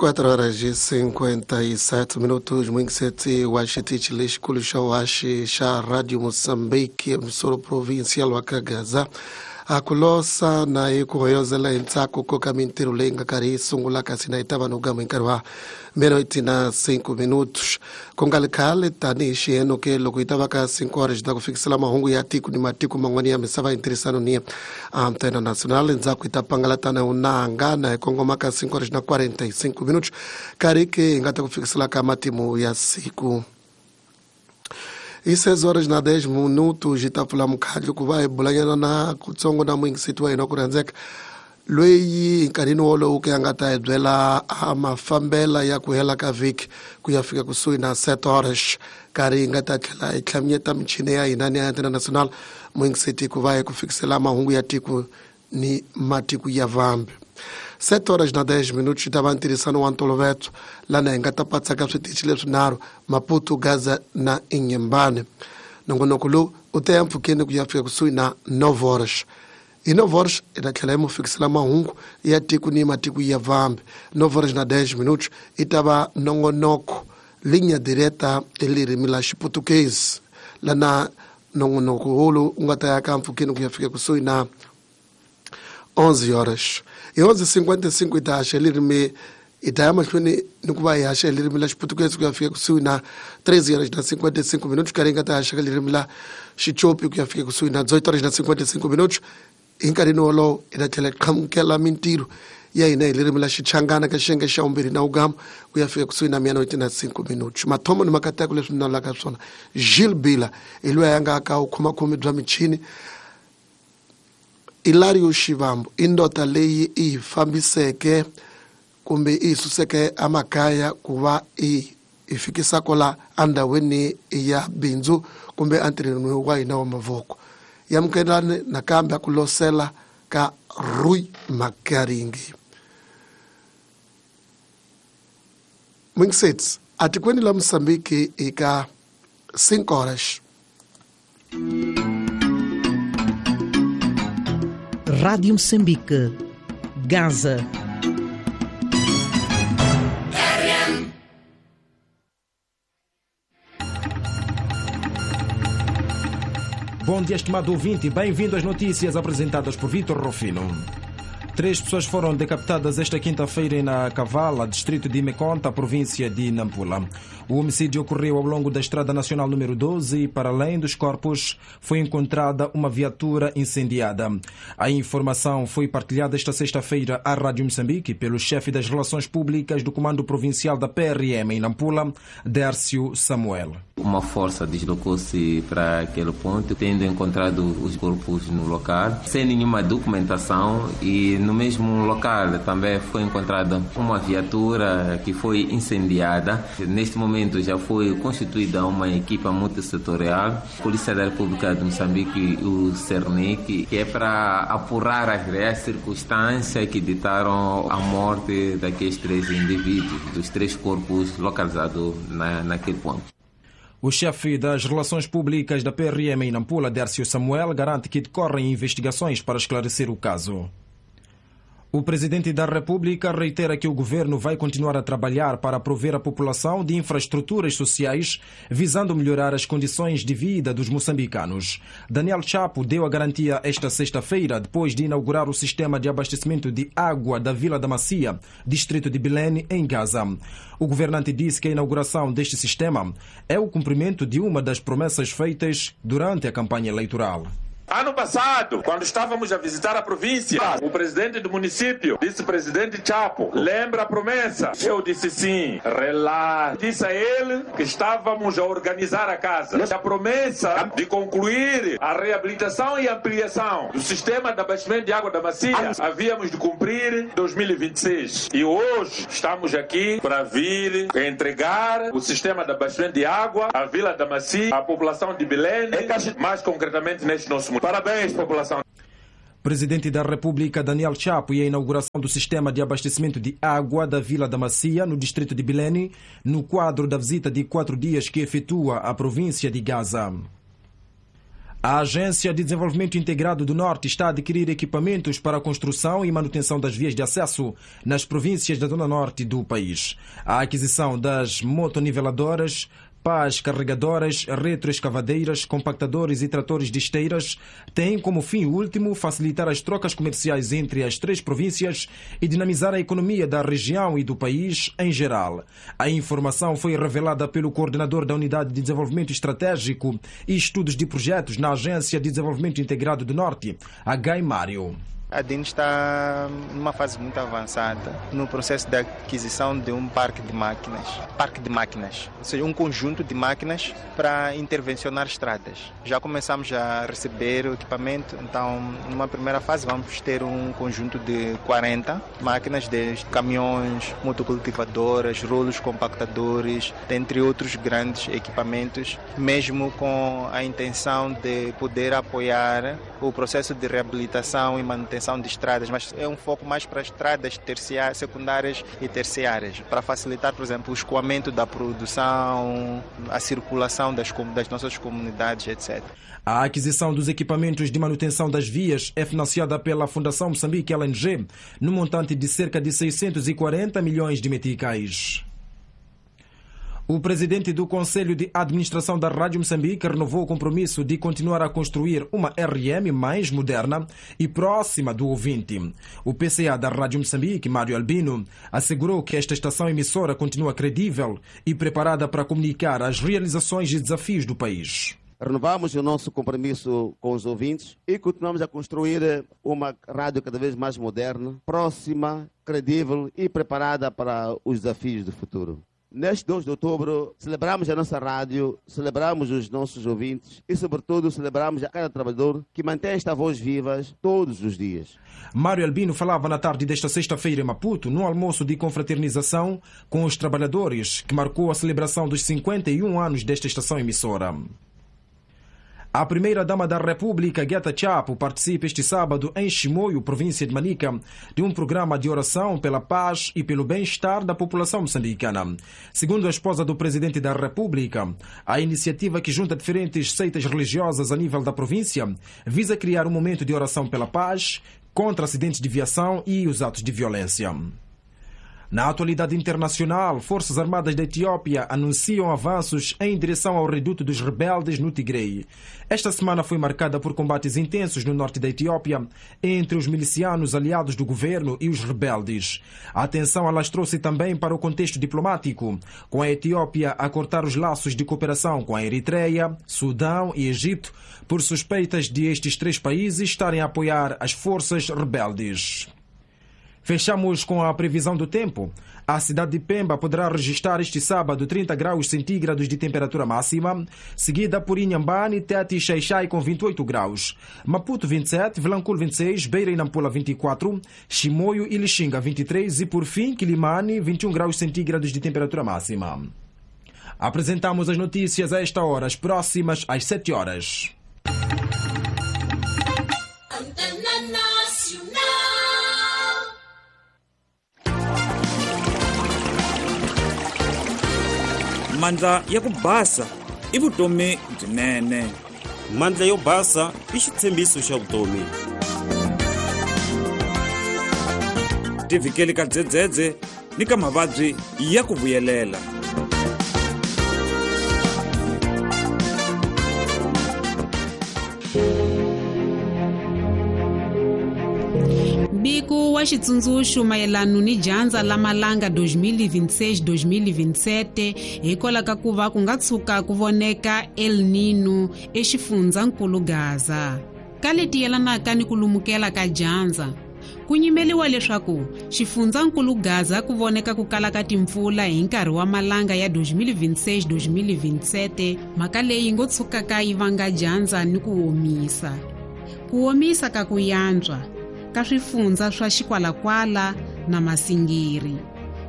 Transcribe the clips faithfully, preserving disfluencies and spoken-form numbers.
quatro horas e cinquenta e sete minutos, muito wa xitichi lexikulu xa waxi xa Radio Moçambique, emissora provincial wa ka Gaza. A ku losa na hi ku hoyozela hi ntsako ko ka mintirho leyi nga karhi yi sungula kasi na yi ta va no gama hi nkarhi wa meia-noite na cinco minutos. Ku nga ri khale tanihi xiyeno ke loko yi ta va ka cinco horas ta ku fikisela mahungu ya tiko ni matiko man'wana ya misava hi ntirhisano ni Antena Nacional. Endzhaku hi ta pangalatana unanga na hi kongoma ka cinco horas na quarenta e cinco minutos karhi ke hi nga ta ku fikisela ka matimu ya siku. E seis horas na dez minutos hi ta pfula mukhandlu ku va hi bulanyana na kutsongo na muyingiseti wa hina ku rhandzeka loyi nkarhini wolowo ku ya nga ta hi byela a mafambela ya ku hela ka vhiki ku ya fika kusuhi na sete horas karhi hi nga ta tlhela hi tlhaminyeta michini ya hina ni ya Antena Nacional muyingiseti ku va hi ku fikisela mahungu ya tiko ni matiko ya vambe. sete horas na dez minutos ta va ntirhisano wa ntolovelo lana hi nga ta patsaka switichi leswinharhu Maputo, Gaza na Inhambane. Nongonoko lowu u ta ya mpfhukeni ku ya fika kusuhi na nove horas. Hi nove horas hi ta tlhela hi mu fikisela mahungu ya tiko ni matiko ya vambe. nove horas na dez minutos i ta va nongonoko linha direta elirimi la Xiputukezi lana nongonoko wolowu u nga ta ya ka mpfhukeni ku ya fika kusuhi na onze horas. Hi onze cinquenta e cinco hi ta haxa elirimi hi ta ya mahlweni ni ku va hi haxa elirimi la Xiputukezi ku ya fika kusuhi na treze horas na cinquenta e cinco minutos karhi hi nga ta haxa ka ririmi la Xichopi ku ya fika kusuhi na dezoito horas na cinquenta e cinco minutos. Hi nkarhini wolowo hi ta tlhela hi qhamukela mintirho ya hina hi ririmi la Xichangana ka xiyenge xa vumbirhi na wugama ku ya fika kusuhi na meia-noite na cinco minutos. Mathomo ni makateko leswi ni nalaka swona Gilles Bila hi loyi a nga ka vukhomakhomi bya michini. Hilario Shivambu i ndota leyi i hi fambiseke kumbe i hi suseke emakaya ku va i hi fikisa kwala endhawini ya bindzu kumbe entirhweni wa hina wa mavoko. Yamukelani nakambe ku losela ka Rui Makaringi. Mingisets atikweni la Mozambique eka cinco horas. Rádio Moçambique, Gaza. Bom dia, estimado ouvinte. Bem-vindo às notícias apresentadas por Vítor Rufino. Três pessoas foram decapitadas esta quinta-feira na Cavala, distrito de Meconta, província de Nampula. O homicídio ocorreu ao longo da Estrada Nacional número doze e, para além dos corpos, foi encontrada uma viatura incendiada. A informação foi partilhada esta sexta-feira à Rádio Moçambique pelo chefe das Relações Públicas do Comando Provincial da P R M em Nampula, Dércio Samuel. Uma força deslocou-se para aquele ponto, tendo encontrado os corpos no local, sem nenhuma documentação, e no mesmo local também foi encontrada uma viatura que foi incendiada. Neste momento já foi constituída uma equipa multissetorial, a Polícia da República de Moçambique e o Cernic, que é para apurar as reais circunstâncias que ditaram a morte daqueles três indivíduos, dos três corpos localizados na, naquele ponto. O chefe das Relações Públicas da P R M em Nampula, Dércio Samuel, garante que decorrem investigações para esclarecer o caso. O presidente da República reitera que o governo vai continuar a trabalhar para prover a população de infraestruturas sociais, visando melhorar as condições de vida dos moçambicanos. Daniel Chapo deu a garantia esta sexta-feira, depois de inaugurar o sistema de abastecimento de água da Vila da Macia, distrito de Bilene, em Gaza. O governante disse que a inauguração deste sistema é o cumprimento de uma das promessas feitas durante a campanha eleitoral. Ano passado, quando estávamos a visitar a província, o presidente do município disse: presidente Chapo, lembra a promessa? Eu disse sim, relaxa. Disse a ele que estávamos a organizar a casa. A promessa de concluir a reabilitação e ampliação do sistema de abastecimento de água da Macia, havíamos de cumprir em dois mil e vinte e seis. E hoje estamos aqui para vir entregar o sistema de abastecimento de água à Vila da Macia, à população de Bilene, mais concretamente neste nosso. Parabéns, população. Presidente da República, Daniel Chapo, e a inauguração do sistema de abastecimento de água da Vila da Macia, no distrito de Bilene, no quadro da visita de quatro dias que efetua à província de Gaza. A Agência de Desenvolvimento Integrado do Norte está a adquirir equipamentos para a construção e manutenção das vias de acesso nas províncias da Zona Norte do país. A aquisição das motoniveladoras, pás carregadoras, retroescavadeiras, compactadores e tratores de esteiras tem como fim último facilitar as trocas comerciais entre as três províncias e dinamizar a economia da região e do país em geral. A informação foi revelada pelo coordenador da Unidade de Desenvolvimento Estratégico e Estudos de Projetos na Agência de Desenvolvimento Integrado do Norte, H. Mário. A D I N está numa fase muito avançada no processo de aquisição de um parque de máquinas, parque de máquinas, ou seja, um conjunto de máquinas para intervencionar estradas. Já começamos a receber o equipamento, então numa primeira fase vamos ter um conjunto de quarenta máquinas, de caminhões, motocultivadoras, rolos compactadores, dentre outros grandes equipamentos, mesmo com a intenção de poder apoiar o processo de reabilitação e manutenção de estradas, mas é um foco mais para estradas terciárias, secundárias e terciárias, para facilitar, por exemplo, o escoamento da produção, a circulação das, das nossas comunidades, etcétera. A aquisição dos equipamentos de manutenção das vias é financiada pela Fundação Moçambique L N G, no montante de cerca de seiscentos e quarenta milhões de meticais. O presidente do Conselho de Administração da Rádio Moçambique renovou o compromisso de continuar a construir uma R M mais moderna e próxima do ouvinte. O P C A da Rádio Moçambique, Mário Albino, assegurou que esta estação emissora continua credível e preparada para comunicar as realizações e desafios do país. Renovamos o nosso compromisso com os ouvintes e continuamos a construir uma rádio cada vez mais moderna, próxima, credível e preparada para os desafios do futuro. Neste dois de outubro, celebramos a nossa rádio, celebramos os nossos ouvintes e, sobretudo, celebramos a cada trabalhador que mantém esta voz viva todos os dias. Mário Albino falava na tarde desta sexta-feira em Maputo, num almoço de confraternização com os trabalhadores, que marcou a celebração dos cinquenta e um anos desta estação emissora. A primeira-dama da República, Gueta Chapo, participa este sábado em Chimoio, província de Manica, de um programa de oração pela paz e pelo bem-estar da população moçambicana. Segundo a esposa do presidente da República, a iniciativa, que junta diferentes seitas religiosas a nível da província, visa criar um momento de oração pela paz, contra acidentes de viação e os atos de violência. Na atualidade internacional, Forças Armadas da Etiópia anunciam avanços em direção ao reduto dos rebeldes no Tigray. Esta semana foi marcada por combates intensos no norte da Etiópia entre os milicianos aliados do governo e os rebeldes. A tensão alastrou-se também para o contexto diplomático, com a Etiópia a cortar os laços de cooperação com a Eritreia, Sudão e Egito, por suspeitas de estes três países estarem a apoiar as forças rebeldes. Fechamos com a previsão do tempo. A cidade de Pemba poderá registrar este sábado trinta graus centígrados de temperatura máxima, seguida por Inhambane, Tete e Xaixai com vinte e oito graus, Maputo vinte e sete, Vilanculo vinte e seis, Beira e Nampula vinte e quatro, Chimoio e Lixinga vinte e três e, por fim, Quilimane vinte e um graus centígrados de temperatura máxima. Apresentamos as notícias a esta hora, as próximas às sete horas. Mandla ya ku basa i vutomi byinene. Mandla yo basa i xitshembiso xa vutomi. Tivhikeli ka dzedzedze ni ka mavabyi ya ku vuyelela. Mbiko wa xitsundzuxo mayelana ni dyandza la malanga dois mil e vinte e seis dois mil e vinte e sete hikwalaho ka ku va ku nga tshuka ku voneka El Nino exifundzankulu Gaza. Ka leti yelanaka ni ku lumukela ka dyandza, ku nyimeliwa leswaku xifundzankulu Gaza ku voneka ku kala ka timpfula hi nkarhi wa malanga ya dois mil e vinte e seis dois mil e vinte e sete, mhaka leyi ngo tshukaka yi vanga dyandza ni ku omisa. Ku omisa ka ku yantswa ka swifundza swa Xikwalakwala na Masingiri,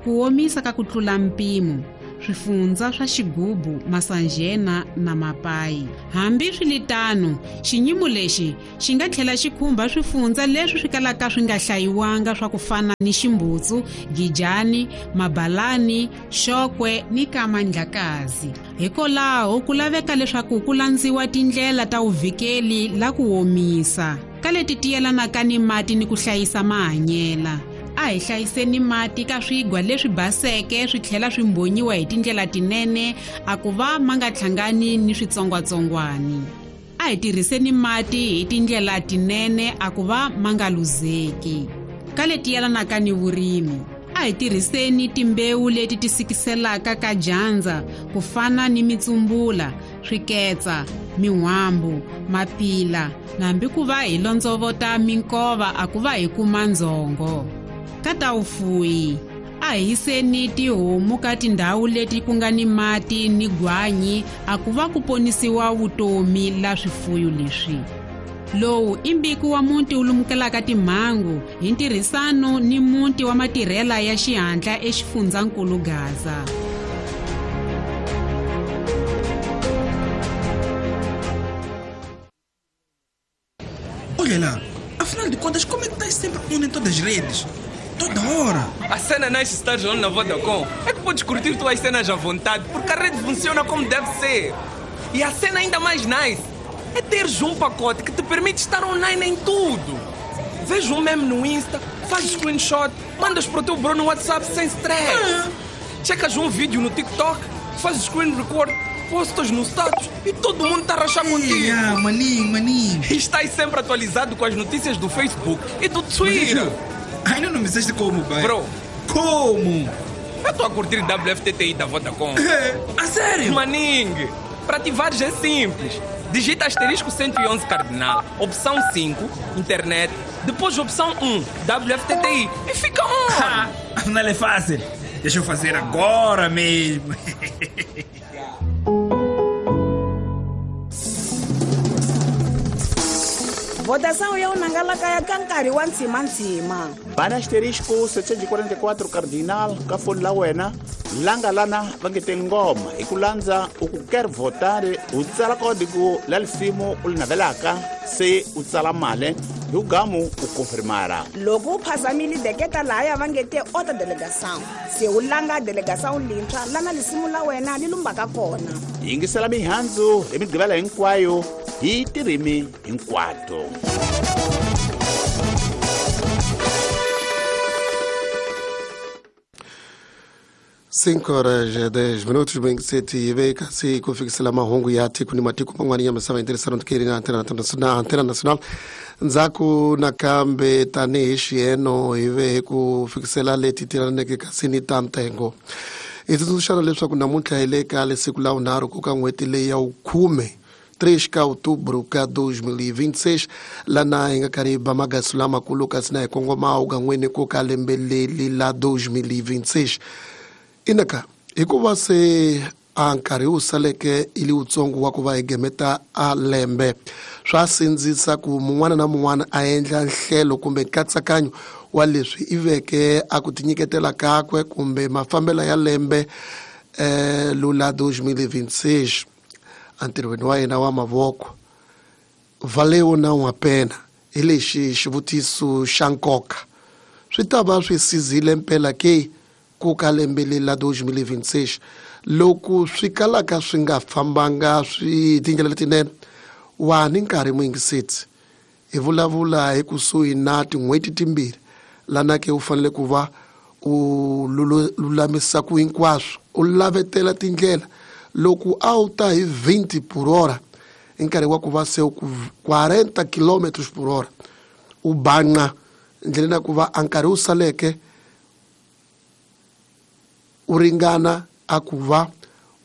ku omisa ka ku tlula mpimo swifundza swa Xigubu, Masanjena na Mapai. Hambi swilitano, xinyimo lexi xi nga tlhela xi khumba swifundza leswi swi kalaka swi nga hlayiwanga swa ku fana ni Ximbutsu, Gijani, Mabalani, Xokwe ni Kamandlakazi. Hikwalaho ku laveka leswaku ku landziwa tindlela ta vuvikeli la ku omisa ka leti tiyelanaka ni mati ni ku hlayisa mahanyela. A hi hlayiseni mati ka swigwa leswi baseke swi tlhela swi mbonyiwa hi tindlela tinene a ku va ma nga hlangani ni switsongwatsongwani. A hi tirhiseni mati hi tindlela tinene a ku va ma nga luzeki. Ka leti yelanaka ni vurimi, a hi tirhiseni timbewu leti ti sikiselaka ka dyandza ku fana ni mitsumbula, swiketsa, min'wambu, mapila, nambi ku va hi londzovota minkova a ku va hi kuma ndzhongo. Ka ta vufuwi, a hi yiseni tihomu ka tindhawu leti ku nga ni mati ni gwanyi a ku va ku ponisiwa vutomi la swifuyo leswi. Lowu i mbiko wa muti wu lumukelaka timhangu hi ntirhisano ni muti wa matirhela ya xihatla exifundzankulu Gaza. Olha lá, afinal de contas, como é que estás sempre on em todas as redes? Toda hora. A cena nice estar on na Vodacom é que podes curtir tuas cenas à vontade, porque a rede funciona como deve ser. E a cena ainda mais nice é teres um pacote que te permite estar online em tudo. Vês um meme no Insta, fazes screenshot, mandas para o teu bro no WhatsApp sem stress. Ah. Checas um vídeo no TikTok, fazes screen record, postas no status e todo mundo está a rachar contigo. Ah, maninho, maninho. E estás sempre atualizado com as notícias do Facebook e do Twitter. Ainda não me disseste como, pai. Bro. Como? Eu estou a curtir W F T T I da Vodacom. É, a sério? Maningue, para ativares é simples. Digita asterisco cento e onze cardinal, opção cinco, internet, depois opção um, W F T T I e fica on! Afinal é fácil. Deixa eu fazer agora mesmo. Votação ya unangalaka ya ka nkarhi wa ntsimantsima. Bana asterisco setecentos e quarenta e quatro cardinal ka foni la wena langa lana va nge te ngoma hi ku landza u ku quer votar u tsala código la lisimu u li navelaka se u tsala mali hi ku gamu u confirmara. Loko u phazamile deketa lahaya va nge te outra delegação se u langa delegação lintshwa lana lisimu la wena li lumbaka kona. Yingisela mihandzu hi migqivela hinkwayo hi tirimi hinkwato. Cinco horas e dez minutos, bem que sete e vem kasi kufikisela mahungu ya tiku ni matiku mangwani ya misava interesano tikeri na antena nacional, antena nacional nzaku nakambe tanihi xieno hi ve ku fikisela leti tiraneke kasi ni ta ntengo. Hi tsundzuxana leswaku namuntlha hi le ka lesiku la vunharhu ku ka n'hweti leyi ya vukhume três de outubro de dois mil e vinte e seis, lana hi nga karhi hi ba magasu lamakulu kasi na hi kongoma ugan'weni ku ka lembe leri la dois mil e vinte e seis. Inaka hikuva se a nkarhi wu saleke i li wutsongo wa ku va hi gemeta a lembe, swa sindzisa ku mun'wana na mun'wana a endla nhlelo kumbe nkatsakanyo wa leswi i veke a ku tinyiketela kakwe kumbe mafambelo ya lembe eh, lula dois mil e vinte e seis entirhweni wa yena wa mavoko. Valeu não a pena hi lexi xivutiso xa nkoka swi ta va swi sizile mpela ke ku ka lembe leri la dois mil e vinte e seis loko swi kalaka swi nga fambanga swi tindlela letinene. Wa ni nkarhi muyingiseti hi vulavula hi kusuhi na tin'hweti timbirhi lana ke u fanele ku va u lulamisa ku hinkwaswo u lavetela tindlela loko a wu ta hi vinte por hora hi nkarhi wa ku va se ku quarenta quilômetros por hora u banqa ndleleni ya ku va a nkarhi wu saleke u ringana a ku va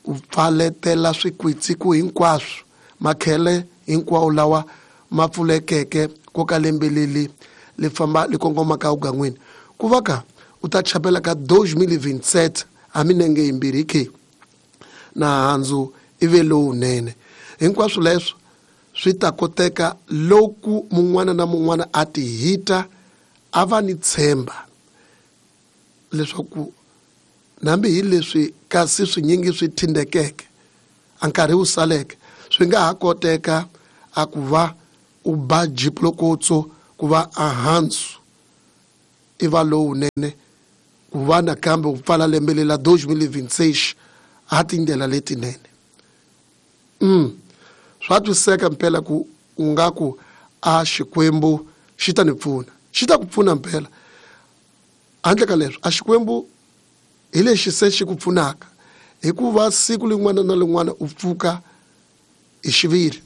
u pfaletela swikwitsiku hinkwaswo makhele hinkwawo lawa ma pfulekeke ko ka lembe leri li famba li kongomaka ugan'wini ku va ka u ta chapela ka dois mil e vinte e sete a minenge yimbirhi ke na handzu i ve lowunene. Hinkwaswo leswo swi ta koteka loko mun'wana na mun'wana a ti hita a va ni tshemba leswaku Nambi hi leswi kasi swinyingi swi thindekeke a nkarhi wu saleke swi nga ha koteka a ku va u ba jiplokotso ku va a hansu i va lowunene ku va nakambe u pfala lembe lela dois mil e vinte e seis a tindlela letinene. Mm. Swa twiseka mpela ku u nga ku a Xikwembu xi ta ni pfuna, xi ta ku pfuna mpela. Handle ka leswi a Xikwembu hi lexi se xi ku pfunaka hikuva siku lin'wana na lin'wana u pfuka hi xiviri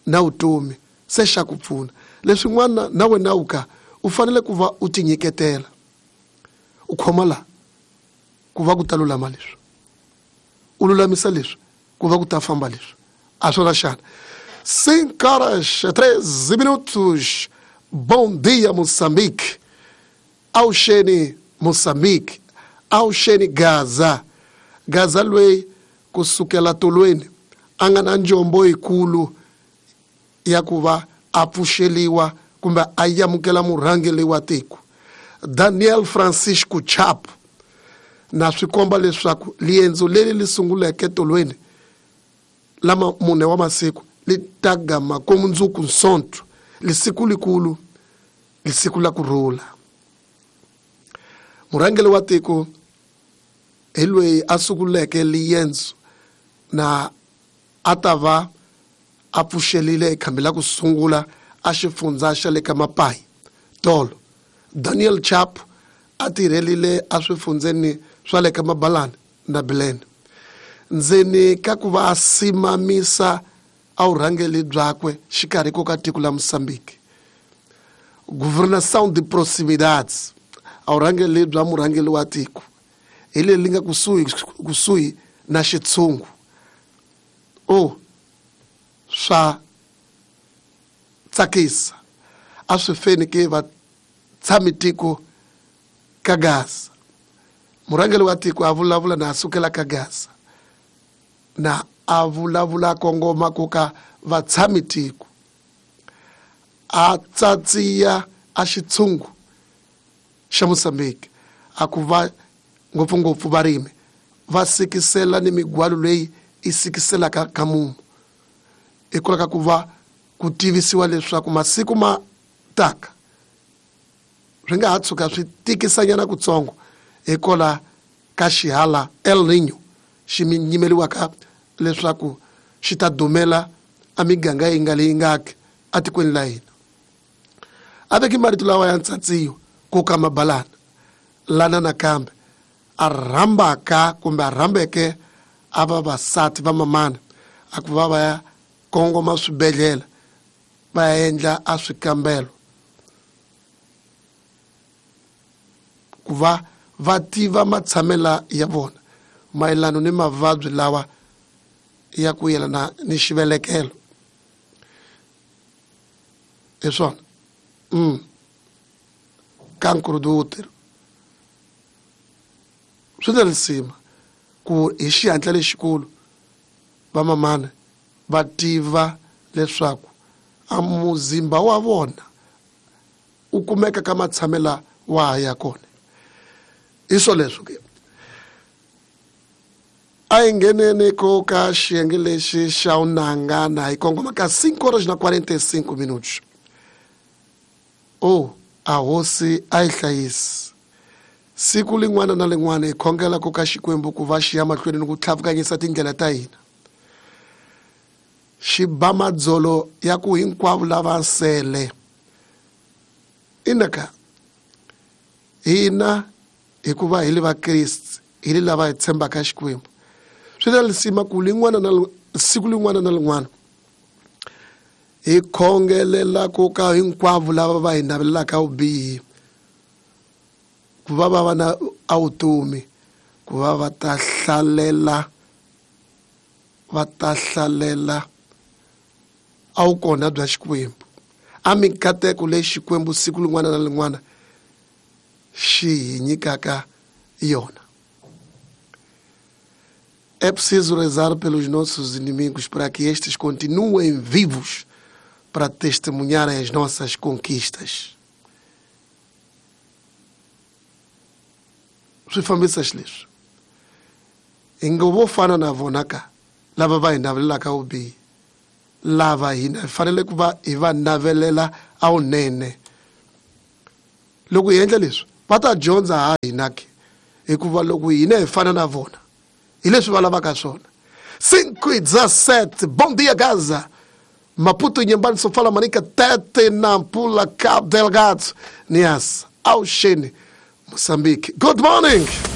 na vutomi se xa ku pfuna. Leswin'wana na wena u ka u fanele ku va u tinyiketela u khoma la ku va ku ta lulama leswi, u lulamisa leswi ku va ku ta famba leswi. A swona xana? Cinco horas treze minutos. Bom dia, Moçambique. Auxene Moçambique. Auxene Gaza. Gaza lweyi kusukela tolweni a nga na njombo yikulu ya ku va a pfuxeliwa kumbe a amukela murhangeri wa tiko Daniel Francisco Chapo, na swi komba leswaku liendzo leri li sunguleke tolweni lama mune wa masiku li ta gama komundzuku nsonto lisiku likulu lisiku la kurhula. Murhangeri wa tiko hi loyi a sunguleke liendzo na a ta va a pfuxelile ekhambi la ku sungula a xifundza xa le ka Mapai tolo. Daniel Chapo a tirhelile a swifundzeni swa le ka Mabalana na Bilene ndzeni ka ku va a simamisa a vurhangeri byakwe xikarhi ko ka tiko la Moçambique. Governação de proximidade, a vurhangeri bya murhangeri wa tiko hi leri li nga kusuhi kusuhi na xitshungu. O swa tsakisa a swi feni ke va tshami tiko ka Gaza. Murhangeri wa tiko a vulavula na a sukela ka Gaza na a vulavula kongoma ku ka vatshami tiko a tsatsiya a xitshungu xa Moçambique a ku va ngopfungopfu varimi va sikisela ni migwalo leyi i sikiselaka ka mumu hikwalaho ka ku va ku tivisiwa leswaku masiku ma taka swi nga ha tshuka swi tikisanyana kutsongo hikwalaho ka xihala El Niño xi nyimeliwaka leswaku xi ta dumela a miganga yi nga leyi ngaki atikweni la hina. A veki marito lawa ya ntsatsiyo ku ka Mabalana lana nakambe a rhambaka kumbe a rhambeke a vavasati va mamana a ku va va ya kongoma swibedhlele va ya endla a swikambelo ku va va tiva matshamela ya vona mayelana ni mavabyi lawa ya ku yelana ni xivelekelo. Hi swona mm. Cancro do útero swi na risima ku hi xihatla lexikulu vamamana va tiva leswaku a muzimba wa vona u kumeka ka matshamela wa ya kona. Hi swoleswo ke a hi ngheneni ko ka xiyenge lexi xa unangana hi kongoma ka cinco horas na quarenta e cinco minutos. O a hosi a yi hlayisi siku lin'wana na lin'wana hi khongela ku ka Xikwembu ku va xi ya mahlweni ni ku tlhavukanyisa tindlela ta hina xi ba madzolo ya ku hinkwavo lava sele. Inaka hina hikuva hi li vakriste hi li lava hi tshembaka Xikwembu swi na lisima ku lin'wana na siku lin'wana na lin'wana hi khongelela ku ka hinkwavo lava va hi navelelaka vubihi ku va va va na vutomi ku va va ta hlalela va ta hlalela a wu kona bya Xikwembu a mikateko leyi Xikwembu siku lin'wana na lin'wana xi hi nyikaka yona. É preciso rezar pelos nossos inimigos para que estes continuem vivos para testemunharem as nossas conquistas. Swi fambisa xileswi Hi ngo vo fana na vona ka lava va hi navelelaka vubihi, lava hina hi fanele ku va hi va navelela awunene. Loko hi endla leswi va ta dyondza ha hina ke, hikuva loko hina hi fana na vona hi leswi va lavaka swona. cinco e dezassete, bom dia Gaza. Maputo, Inhambane, Sofala, Manica, Tete, Nampula, Cabo Delgado, Niassa, Alxene, Moçambique. Good morning!